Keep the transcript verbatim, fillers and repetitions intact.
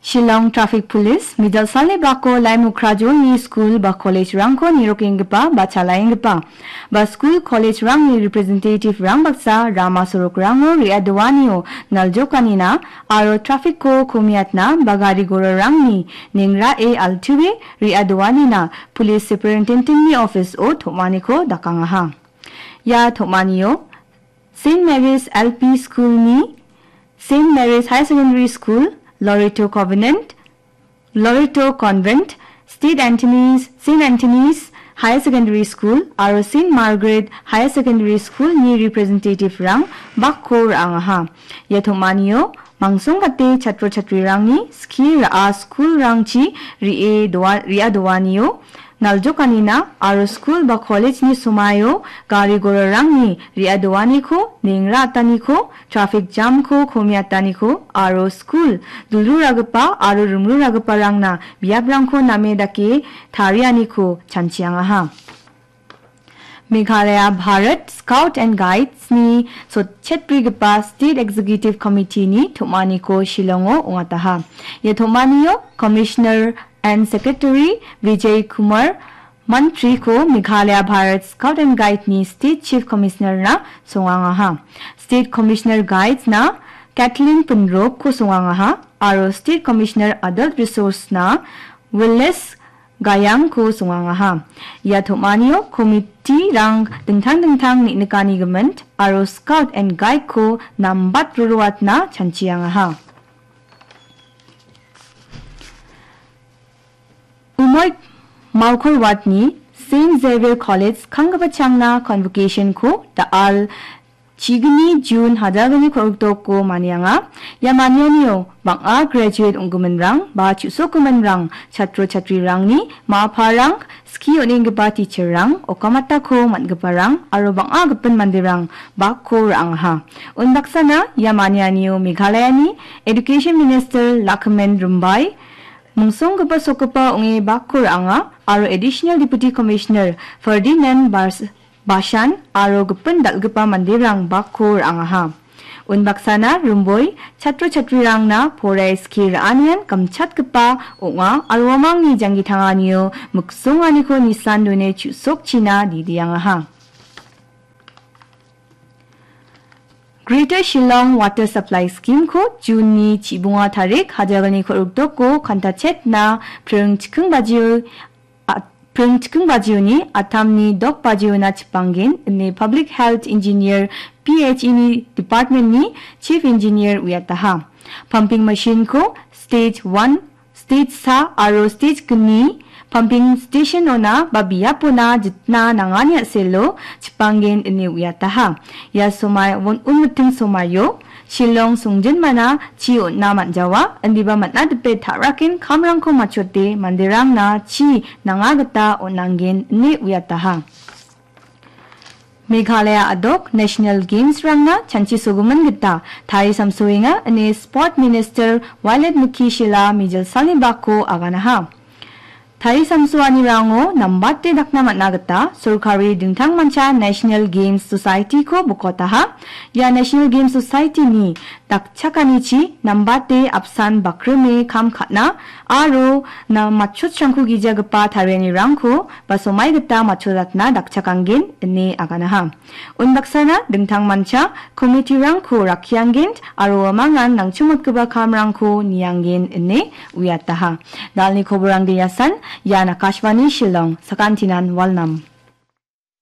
Shillong Traffic Police, mijalsalni bako laimukra jolni skul ba college-rangko nirokenggipa ba chalaenggipa ba skul college-rangni representative-rang baksa rama sorokrango re·adoanio naljokanina aro traffic-ko komiatna ba gari gorarangni nengrae altuwe re·adoanina Police Superintendent-ni office-o tom·aniko dakangaha. Ia tom·anio Saint Mary's L P School-ni Saint Mary's Higher Secondary School, Loreto Covenant, Loreto Convent, State Anthony's, Saint Anthony's Higher Secondary School aro Saint Margaret Higher Secondary School-ni representative-rang bakko ra·angaha. Ia tom·anio mangsongate chatro chatrirangni skie ra·a school-rangchi re·e doa-, re·adoanio naljokanina aro skul ba college-ni somaio gari gorarangni re·adoaniko, nengra ataniko, traffic jam-ko komiataniko aro skul dulruragipa aro rimruragiparangna biaprangko name dake tarianiko chanchiangaha. Meghalaya Bharat Scout and Guides-ni sotchetbrigipa State Executive Committee-ni tom·aniko Shillong-o ong·ataha. Ia tom·anio Commissioner and Secretary Vijay Kumar Mantri-ko Meghalaya Bharat Scout and Guide-ni State Chief Commissioner-na songangaha. State Commissioner Guides-na Kathleen Pynrok-ko songangaha aro State Commissioner Adult Resource-na Willis Gayang-ko songangaha. Ia tom·anio committee-rang dingtang dingtang neng·nikani gimin aro Scout and Guide-ko nambat roroatna chanchiangaha. Umoi Mawkor Ward-ni Saint Xavier College kanggipachangna convocation-ko da·al chigni June hajalgni ko·rikdoko manianga. Ia manianio bang·a graduate ong·giminrang ba chu·sokgiminrang, chatro chatrirangni ma·aparang, skie on·enggipa teacher-rang, okamatako man·giparang aro bang·a gipin manderang bakko ra·angaha. Unbaksana ia manianio Meghalayani Education Minister Lakhmen Rimbai, mingsonggipa sokgipa ong·e bakko ra·anga aro Additional Deputy Commissioner Ferdinand Bars-, Bashan aro gipin dal·gipa manderang bakko ra·angaha. Unbaksana Rimboi chatro chatrirangna poraie skie ra·anian gimchatgipa ong·a aro uamangni janggi tanganio miksonganiko nisan done chu·sokchina didiangaha. Greater Shillong Water Supply Scheme-ko June-ni chibonga tarik hajalgni ko·rikdoko kantachetna pring chikking bajio, a-, pring chikking bajioni atamni dok bajiona chipanggen ine Public Health Engineer, P H E-ni department-ni Chief Engineer uiataha. Pumping machine-ko stage one, stage sa aro stage gni pumping station-ona ba biapona jitna nangani a·selo chipanggen ine uiataha. Ia somai un-, unmiting somaio Shillong songjinmana chi on·na man·jawa, indiba man·a dipe ta·raken kamrangko matchote manderangna chi nanga gita on·angen ine uiataha. Meghalaya a·dok National Games-rangna chanchisogimin gita tarisamsoenga ine Sport Minister Wailadmiki Shylla mijalsalni bako aganaha. Tarisamsoanirango nambate dakna man·a gita sorkari dingtangmancha National Games Society-ko bokotaha. Ia National Games Society-ni dakchakanichi nambate apsan bakrime kam ka·na aro na-, matchotsrangko gijagipa tarianirangko ba somai gita matchotatna dakchakanggen ine aganaha. Unbaksana dingtangmancha komitirangko rakkianggen aro uamangan nangchimotgipa kamrangko nianggen ine uiataha. Dalni koborangde iasan, ian Akashvani Shillong, sakantinan walnam.